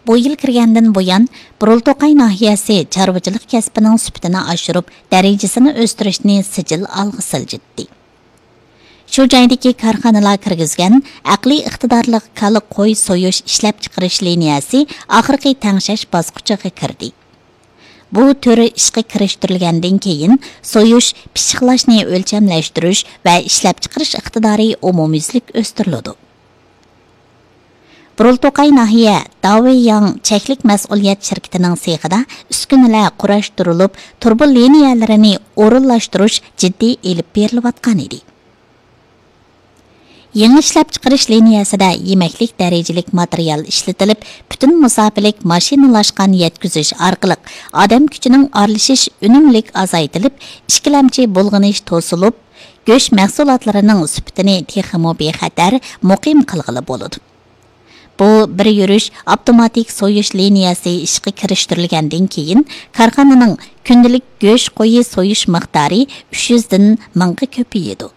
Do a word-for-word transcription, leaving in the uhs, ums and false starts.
بۇ يىل كىرگەندىن بۇيان، بۇرۇلتوقاي ناھىيەسى چارۋىچىلىق كەسپىنىڭ سۈپىتىنى ئاشۇرۇپ، دەرىجىسىنى ئۆستۈرۈشنى سىجىل ئالغا سىلجىتتى. شۇ جايدىكى كارخانىلار كىرگۈزگەن ئەقلىي ئىقتىدارلىق كالا، قوي سويۇش ئىشلەپچىقىرىش لىنىيەسى ئاخىرقى تەڭشەش باسقۇچىغا كىردى. بۇ تۈر ئىشقا كىرىشتۈرۈلگەندىن كېيىن، سويۇش، پىششىقلاشنى ئۆلچەملەشتۈرۈش ۋە ئىشلەپچىقىرىش ئىقتىدارى ئومۇميۈزلۈك ئۆستۈرۈلىدۇ. بۇرۇلتوقاي ناھىيە داۋېيياڭ چەكلىك مەسئۇلىيەت شىركىتىنىڭ سېخىدا ئۈسكۈنىلەر قۇراشتۇرۇلۇپ، تۇرۇبا لىنىيەلىرىنى ئورۇنلاشتۇرۇش جىددىي ئېلىپ بېرىلىۋاتقان ئىدى. يېڭى ئىشلەپچىقىرىش لىنىيەسىدە يېمەكلىك دەرىجىلىك ماتېرىيال ئىشلىتىلىپ، پۈتۈن مۇساپىلىك ماشىنىلاشقان يەتكۈزۈش ئارقىلىق ئادەم كۈچىنىڭ ئارىلىشىش ئۈنۈملۈك ئازايتىلىپ، ئىككىلەمچى بۇلغىنىش توسۇلۇپ، گۆش مەھسۇلاتلىرىنىڭ سۈپىتىنى تېخىمۇ بىخەتەر، مۇقىم قىلغىلى بولىدۇ. بۇ بىر يۈرۈش ئاپتوماتىك سويۇش لىنىيەسى ئىشقا كىرىشتۈرۈلگەندىن كېيىن، كارخانىنىڭ كۈندىلىك گۆش قويى سويۇش مىقدارى ئۈچ يۈزدىن مىڭغا كۆپىيىدۇ.